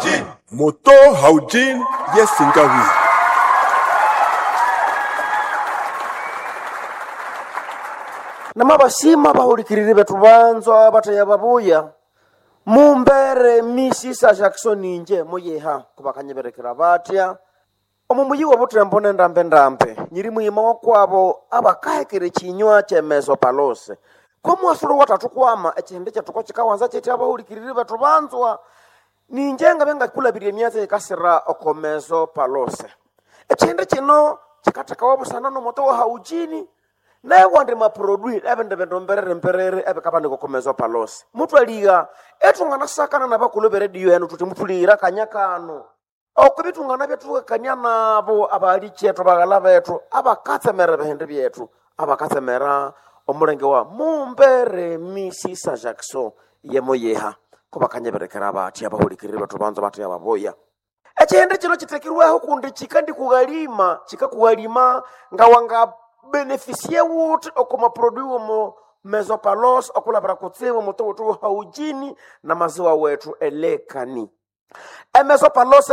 Haujin. Moto Haujin yesingawi. Namabasima bahulikiriri bethu banzwa bathaya babuya mumbere misisa Jackson inje muyiha kubakanyiberekera batya omu muyi wa butembo nendambe-ndambe nyiri muyima wakwabo abakahekera ekinywa kyemezo palose komuwasulo wathathu kwama ekihindi kyethu kokikawanza kyethi abahulikiriri bethu banzwa ninje ngabe ngakulabirya emyatsi eyikasira okomezo palose ekihindi kino kikathekawa busana nomoto wa haujini naye maprodui ebindu bindu mberere mberere ebikabanika okomezo palose mutwaliga ethunganasakana nabakulhu beredio enu thuthi muthulighira akanya kano oko bithungana byethukakania nabo abali kyethu baghala bethu abakatsemera ebihindi byethu abakatsemera omulenge wa mumbere misisa Jackson yemoyeha kubakanyeberekera bathi abahulikiriri bethu banza bathi ababoya ekihindi kino kitekirweho kundi kikandikughalima kikakughalima nga wanga benefisie wuthi oko maprodui womo mesopalos okulabira kutsibu mutu wuthi haujini na maziwa wethu elekani emesopalos.